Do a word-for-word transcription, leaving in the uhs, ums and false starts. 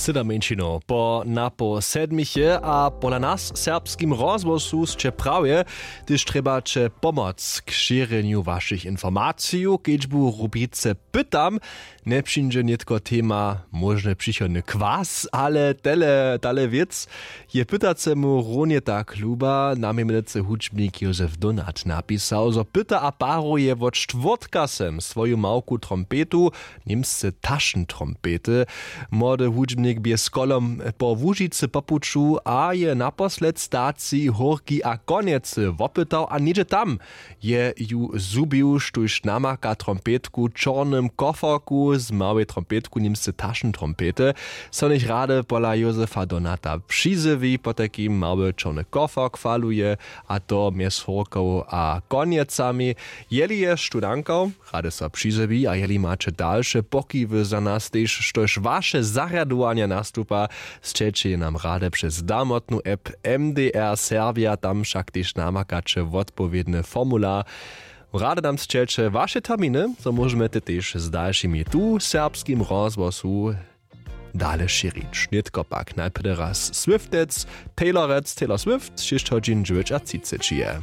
Sydomjeńšinow po napoł sedmich je a pola nas w serbskim rozhłosu sće prawje, hdyž trjebaće pomoc k šěrjenju wašich informacijow kedźbu w rubrice pytam. Njepřińdźe nětko tema móžny přichodny kwas ale tele tale wěc. Je pytacemu runje tak luba namjemnycy hudźbnik józef donat napisał zo pyta a paruje wot štwórtka sem swoju małku trompetu, němsce tašentrompety. Młody hudźbnik bě z kolom po łužicy po puću a je naposled staci hórki a konjecy wopytał a něhdźe tam je ju zhubił štóž namaka trompetku w čornym koforku z małej trompetku němsce tašentrompety. So něch rady pola józefa donata přizjewi potajkim mały čorny kofork faluje, a to mjez hórkow a konjecami. Jeli je štó nankał, rady so přizjewi a jeli maće dalše pokiwy za nas tež štož waše zarjadowanja nastupa, sćeće je nam rady přez damotnu app, mdr serbja tam wšak tež namakaće wotpowědny formular. Rady nam sćeće waše terminy zo móžemy te tež z dalšimi tu w serbskim rozhłosu dale šěrić nětko pak najprjedy raz swiftec, taylorec taylor swift šěsć hodźin dźewjećatřiceći je.